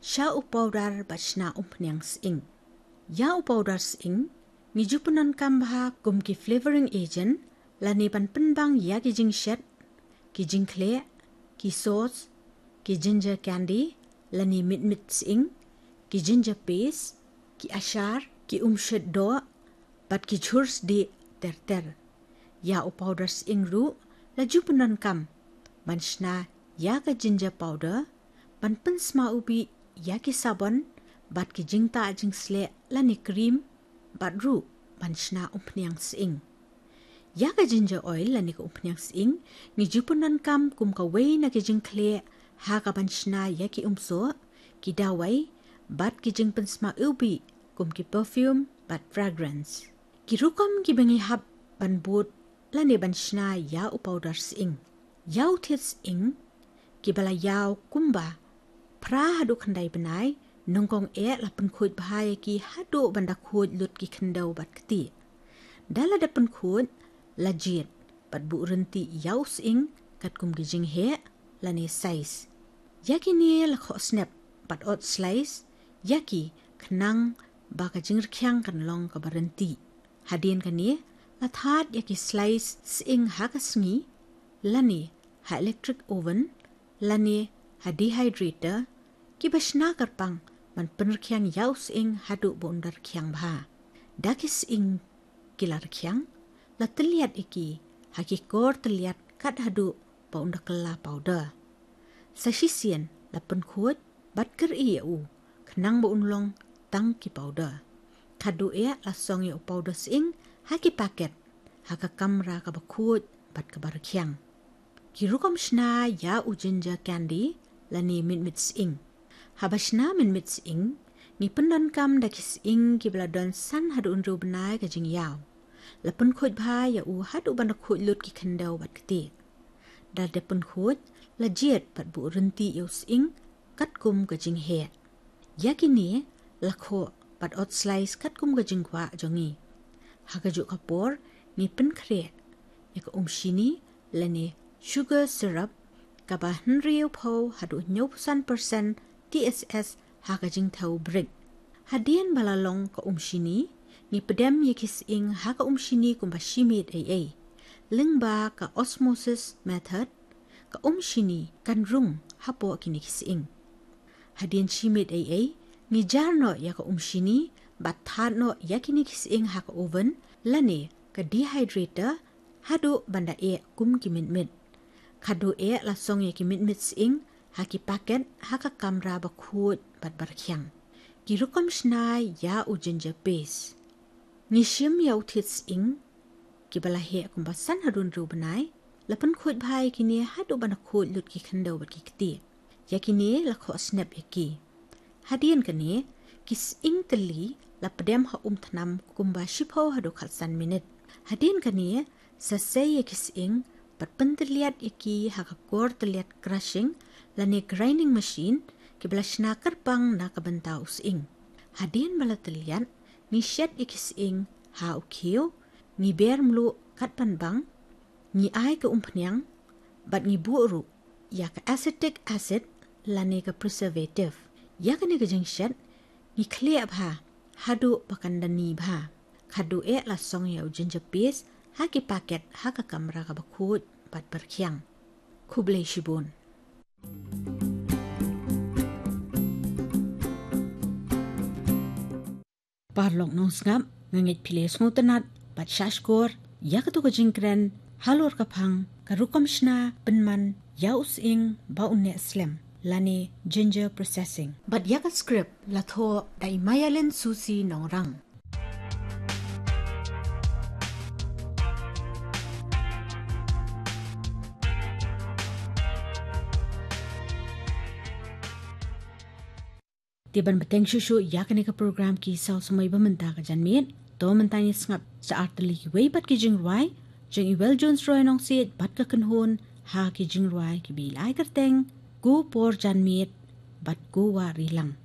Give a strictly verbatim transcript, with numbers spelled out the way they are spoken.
sha u pawdar bad shna umphniang sying. Ïa u pawdar sying ngi ju pyndonkam bha kum ki flavoring agent lane ban pynbang ïa ki jingshet, ki jingkhleh, ki sauce, ki ginger candy lane mitmit sying, ki ginger paste, ki achar, ki umshet doh bad ki jhur sdieh ter ter. Ïa u pawdar sying ruh la ju pyndonkam ban shna ïa ka ginger powder ban pynsma u bih ïa ki sabon bad ki jingtah jingsleh lane cream bad ruh ban shna umphniang sying. Ïa ka ginger oil lane ka umphniang sying ngi ju pyndonkam kum kawei na ki jingkhleh ha ka ban shna ïa ki umsoh, ki dawai bad ki jingpynsma u bih kum ki perfume bad fragrance. Ki rukom kiba ngi hap ban bud lane ban shna ïa u pawdar sying. Ïa u thied sying kiba la ïaw kumba phra haduh khyndai bnai, nyngkong eh la pynkhuid bha ïa ki haduh ban da khuid lut ki khyndew bad ktieh. Da la dep pynkhuid la jied bad buh rynti ïa u sying katkum ki jingheh lane size. Ïa kine la khoh snep bad ot slice ïa ki khnang ba ka jingrkhiang kan long kaba rynti. Hadien kane la thad ïa ki slice sying ha ka sngi lane ha electric oven lane ha dehydrator kiba shna kyrpang ban pynrkhiang ïa u sying haduh ba un da rkhiang bha. Da ki sying ki la rkhiang la tylliat ïa ki ha ki kor tylliat kat haduh ba un da kylla powder. Sa shisien la pynkhuid bad kyrïeh ïa u khnang ba un long tang ki powder. Khadduh eh la song ïa u powder sying ha ki paket ha ka kamra kaba khuid bad kaba rkhiang. Ki rukom shna ïa u ginger candy lane mitmit sying. Haba shna mitmit sying ngi pyndonkam da ki sying kiba la don san haduh hynriew bnai ka jingïaw. La pynkhuid bha ïa u haduh ban da khuid lut ki khyndew bad ktieh. Da la dep pynkhuid la jied bad buh rynti ïa u sying katkum ka jingheh. Ïa kine la khoh bad ot slice katkum ka jingkwah jong ngi. Ha kajuh ka por ngi pynkhreh ïa ka umshini lane sugar syrup kaba hynriewphew haduh hynñiewphew san percent T S S ha ka jingthew brick. Hadien ba la long ka umshini ngi pdem ïa ki sying ha ka umshini kumba shi miet ei ei. Lyngba ka osmosis method ka umshini kan rung hapoh kine ki sying. Hadien shi miet ei ei ngi jar noh ïa ka umshini bad thad noh ïa kine ki sying ha ka oven lane ka dehydrator haduh ban da eh kum ki mitmit. Khadduh eh la song ïa ki mitmit sying ha ki paket ha ka kamra ba khuid bad ba rkhiang. Ki rukom shna ïa u ginger paste. Ngi shim ïa u thied sying kiba la heh kumba san haduh hynriew bnai, la pynkhuid bha ïa kine haduh ban da khuid lut ki khyndew bad ki ktieh. Ïa kine la khoh snep ïa ki. Hadien kane ki sying tylli la pdem ha um thnam kumba shiphew haduh khatsan minit. Hadien kane sa sei ïa ki sying bad pyntylliat ïa ki ha ka kor tylliat crushing lane grinding machine kiba la shna kyrpang na ka bynta u sying. Hadien ba la tylliat ngi shet ïa ki sying ha u khiew, ngi ber mluh kat ban bang, ngi ai ka umphniang bad ngi buh ruh ïa ka acetic acid lane ka preservative. Ïa kane ka jingshet ngi khleh bha haduh ba kan da ni bha. Khadduh eh la song ïa u ginger paste ha ki paket ha ka kamra kaba khuid bad ba rkhiang. Khublei shibun. Paralok nongsngap, nga ngeit phi la sngewtynnat bad shahshkor ïa kato ka jingkren halor ka phang ka rukom shna pynman ïa u sying ba un neh slem lane ginger processing. Bad ïa ka script la thoh da i Mayalin Susi Nongrang. Te ban bteng shuh shuh ïa kane ka program Ki Saw Samoi ba mynta ka janmiet, to mynta ngin sngap sa artylli kiwei pat ki jingrwai jong i Well Jones Roy Nongsiej bad ka kynhun ha ki jingrwai kiba ïai kyrteng Ko Por Janmiet bad Ko Wah Rilang.